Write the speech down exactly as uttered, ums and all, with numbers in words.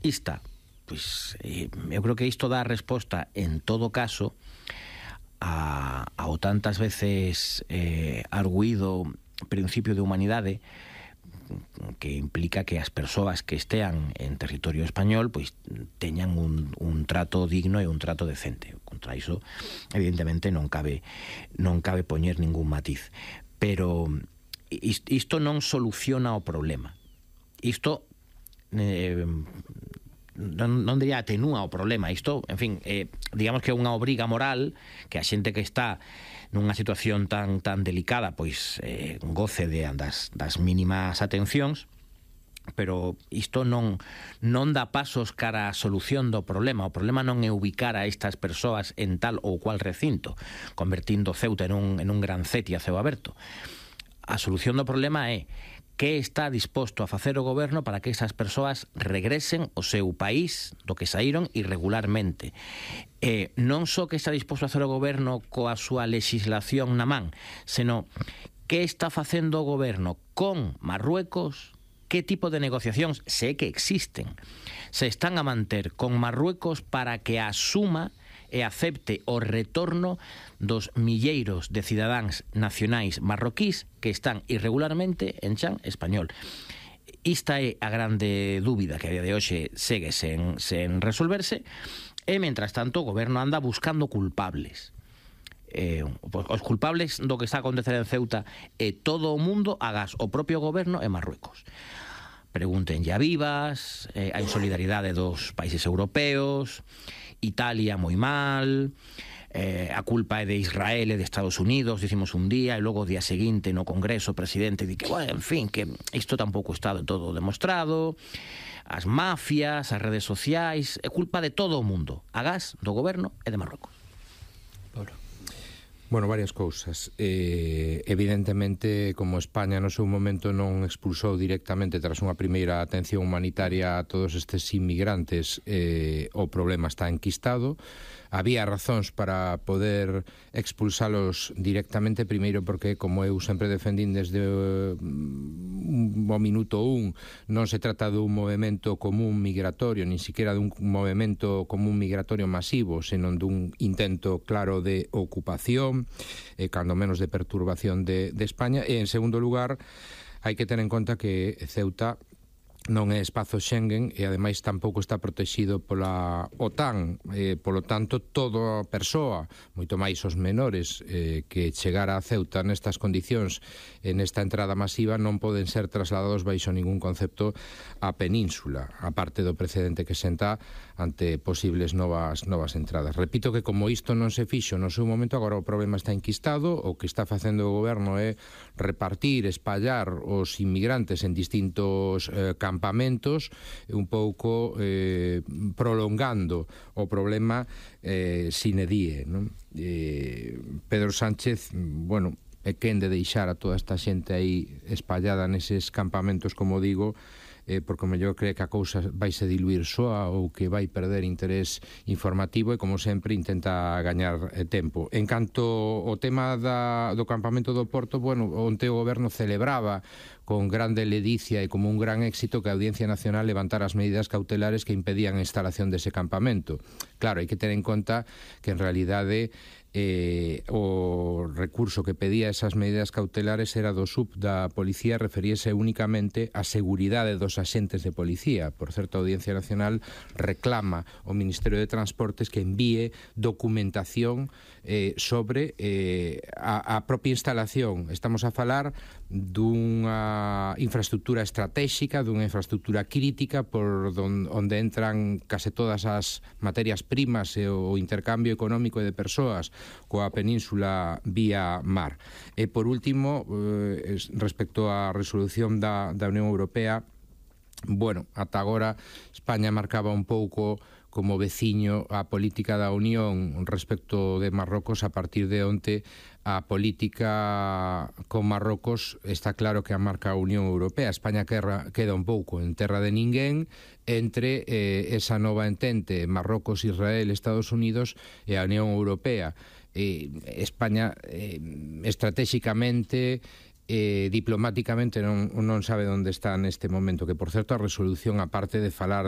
ista, pois eh, eu creo que isto dá resposta en todo caso a, ao tantas veces eh, arguído principio de humanidade, que implica que as persoas que estean en territorio español pois teñan un, un trato digno e un trato decente. Contra iso, evidentemente, non cabe non cabe poñer ningún matiz. Pero isto non soluciona o problema. Isto eh, non, non diría atenúa o problema. Isto, en fin, eh, digamos que é unha obriga moral que a xente que está nunha situación tan tan delicada pois eh, goce de das, das mínimas atencións, pero isto non non dá pasos cara a solución do problema. O problema non é ubicar a estas persoas en tal ou cual recinto, convertindo Ceuta en un, en un gran Ceti a ceo aberto. A solución do problema é que está disposto a facer o goberno para que esas persoas regresen ao seu país do que saíron irregularmente. Eh, non só que está disposto a facer o goberno coa súa legislación na man, senón que está facendo o goberno con Marruecos, que tipo de negociacións, se que existen, se están a manter con Marruecos para que asuma e acepte o retorno dos milleiros de cidadáns nacionais marroquís que están irregularmente en chan español. Esta é a grande dúbida que a día de hoxe segue sen, sen resolverse, e, mentras tanto, o goberno anda buscando culpables. Eh, os culpables do que está a acontecer en Ceuta e todo o mundo agás o propio goberno e Marruecos. Pregúntenlle a Vivas, eh, a insolidaridade dos países europeos, Italia moi mal, eh, a culpa é de Israel e de Estados Unidos, dicimos un día, e logo o día seguinte no Congreso o presidente di que, bueno, en fin, que isto tampouco está de todo demostrado, as mafias, as redes sociais, é culpa de todo o mundo, agás do goberno e de Marrocos. Ahora. Bueno, varias cousas. Eh, evidentemente, como España no seu momento non expulsou directamente tras unha primeira atención humanitaria a todos estes inmigrantes, eh, o problema está enquistado. Había razóns para poder expulsalos directamente, primeiro porque, como eu sempre defendín desde o minuto un, non se trata dun movimento común migratorio, nin siquiera dun movimento común migratorio masivo, senón dun intento claro de ocupación, e cando menos de perturbación de, de España. E, en segundo lugar, hai que ter en conta que Ceuta non é espazo Schengen e ademais tampouco está protegido pola OTAN, eh, polo tanto toda persoa, moito máis os menores eh, que chegara a Ceuta nestas condicións, en esta entrada masiva, non poden ser trasladados baixo ningún concepto á península, aparte do precedente que senta ante posibles novas novas entradas. Repito que como isto non se fixo no seu momento, agora o problema está enquistado. O que está facendo o goberno é repartir, espallar os inmigrantes en distintos eh, campamentos, un pouco eh, prolongando o problema eh, sine die, non? Eh, Pedro Sánchez, bueno, é quen de deixar a toda esta xente aí espallada neses campamentos, como digo, eh, porque o mellor cree que a cousa vai se diluir soa ou que vai perder interés informativo e, como sempre, intenta gañar eh, tempo. En canto ao tema da, do campamento do Porto, bueno, onte o goberno celebraba con grande ledicia e como un gran éxito que a Audiencia Nacional levantara as medidas cautelares que impedían a instalación dese campamento. Claro, hai que ter en conta que en realidade eh, o recurso que pedía esas medidas cautelares era do S U P da Policía, referíese únicamente á seguridade dos axentes de policía. Por certo, a Audiencia Nacional reclama ao Ministerio de Transportes que envíe documentación eh, sobre eh, a, a propia instalación. Estamos a falar dunha infraestructura estratégica, dunha infraestructura crítica por don, onde entran case todas as materias primas e o intercambio económico e de persoas coa península vía mar. E por último, eh, respecto á resolución da, da Unión Europea, bueno, ata agora España marcaba un pouco como veciño a política da Unión respecto de Marrocos. A partir de onte a política con Marrocos está claro que a marca a Unión Europea. España queda, queda un pouco en terra de ninguén entre eh, esa nova entente Marrocos, Israel, Estados Unidos e a Unión Europea. Eh, España eh, estratégicamente eh, diplomáticamente non, non sabe onde está neste momento, que por certo a resolución, aparte de falar